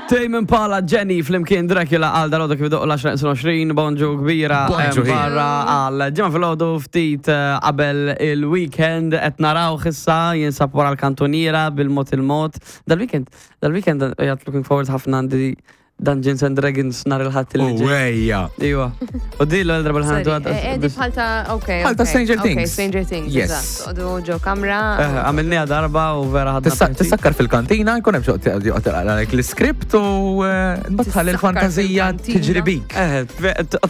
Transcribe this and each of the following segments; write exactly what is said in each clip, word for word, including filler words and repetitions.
Tame Impala, Jenny flimkien Dracula għal dalgħodu kif idoqqu l-għaxra neqsin għoxrin, bonġu kbira. Bonġu, em, barra għal ġimgħa filgħodu, ftit eh, qabel il-weekend. Qed naraw issa jinsab wara l-kantuniera bil-mod il-mod. Dal-weekend, dal-weekend jgħat looking forward ħafna, għandi Dungeons and Dragons nhar il-Ħadd li U ġej. ejja. Iwa. U di l-darba Sorry, l-ħandu. eh, eh, di bħal ta' ok. Bħal ta' ok, Stranger ok, Things. Stranger Things, Yes. eżatt. Odu ġo kamra. Għamilniha darba u vera ħadna Tista' pjaċir. Tissakkar fil-kantina, jkun hemm xi joqgħod għalek l-iskript u eh, mbagħad tħalli Tissakkar l-fantazija fil-kantina. tiġri bik. Eh,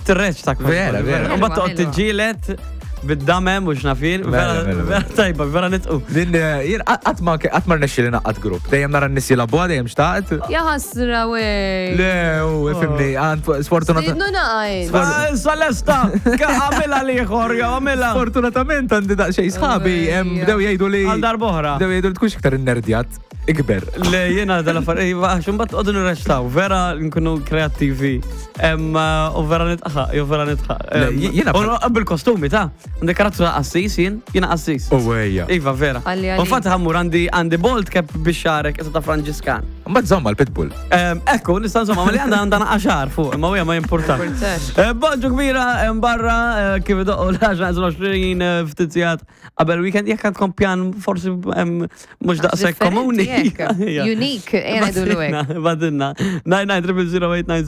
tirreċ ta' Vera, vera. U mbagħad toqgħod Ħelwa, ħelwa. tiġġieled bid-damem u x'nafir. Vera, Vera, vera, vera tajba, vera nitqu. Din eh, jien qatt ma qatt ma rnexxieli naqgħad grupp. Dejjem nara n-nies jilagħbuha, dejjem xtaqt. Ja ħasra wej. Le, u ifhimni, għand sfortunat. Stidnu naqajn. Ah, Salesta, għamilha liħor, jew għamilha. Sfortunatament għandi daqsxejn sħabi em, Ejja. bdew jgħidu li Għal darb'oħra. bdew jgħidu li tkunx iktar innerdjat, ikber. Le, jena dal-affar, iva, għax mbagħad qogħdu nirreċtaw, vera nkunu kreattivi. Em, U vera nitħaq, jew vera nitħaq. Le, Em, jiena U bil-kostumi ta' għandi karattru ta' qassis jien, jiena qassis. U ejja. Iva, vera. Għalli, U għalli. fatt ħammur għandi għandi bald cap biex xarek, issa ta' Franġiskan. Mbagħad żomma l-pitbull. Em, Ekku, nista' insomma, ma li għandha għandha għaxar fuq, imma huja ma jimpurtax. Importax. Eh, Bonġu kbira em, barra eh, kif idoqqu l-għaxra neqsin għoxrin ftit sigħat qabel weekend, jekk għandkom pjan forsi em, mhux daqshekk komuni. Unique, ejja ngħidulu hekk. Badinna. nine nine zero zero eight nine.